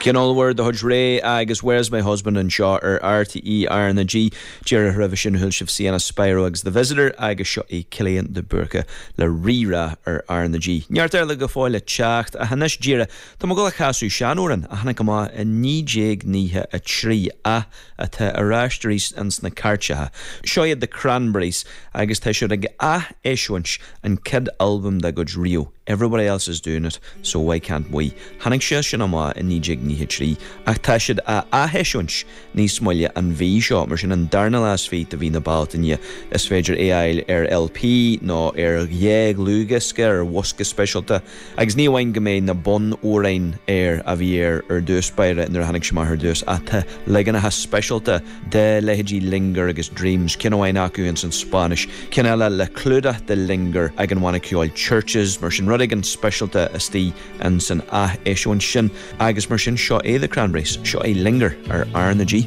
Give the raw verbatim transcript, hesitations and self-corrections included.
Ceann ollmhór de chuid Ré agus Where's My Husband anseo ar RTÉ R na G díreach roimhe sin chuala sibh Sienna Spiro agus The Visitor agus seo é Cillian de Búrca le Rírá ar R na G. Neart eile go fóill le teacht ach anois díreach Tá mé ag gabháil a chasadh seanamhrán a tháinig amach i naoi déag nócha a trí ach atá ar ais arís ins na cairteacha. Seo iad The Cranberries agus tá siad ag ath-eisiúint an chéad albam dá gcuid riamh. Everybody else is doing it, so why can't we? Tháinig sé sin amach i naoi déag nócha trí ach tá siad á atheisiúint níos moille an mhí seo mar sin an darna lá is fiche de mhí na Bealtaine is féidir é a fháil ar LP nó ar dhá dhlúthdhiosca ar bhosca speisialta agus ní amháin go mbeidh na bunamhráin air a bhí air ar dtús báire nuair a tháinig sé amach ar dtús ach tá leaganacha speisialta de leithéidí Linger agus Dreams ceann amháin acu ins an Spáinnis ceann eile le clúdach de Linger ag an bhanna ceoil Chvrches mar sin rud éigin speisialta istigh in san atheisiúint sin agus mar sin seo é The Cranberries seo é Linger ar R na G.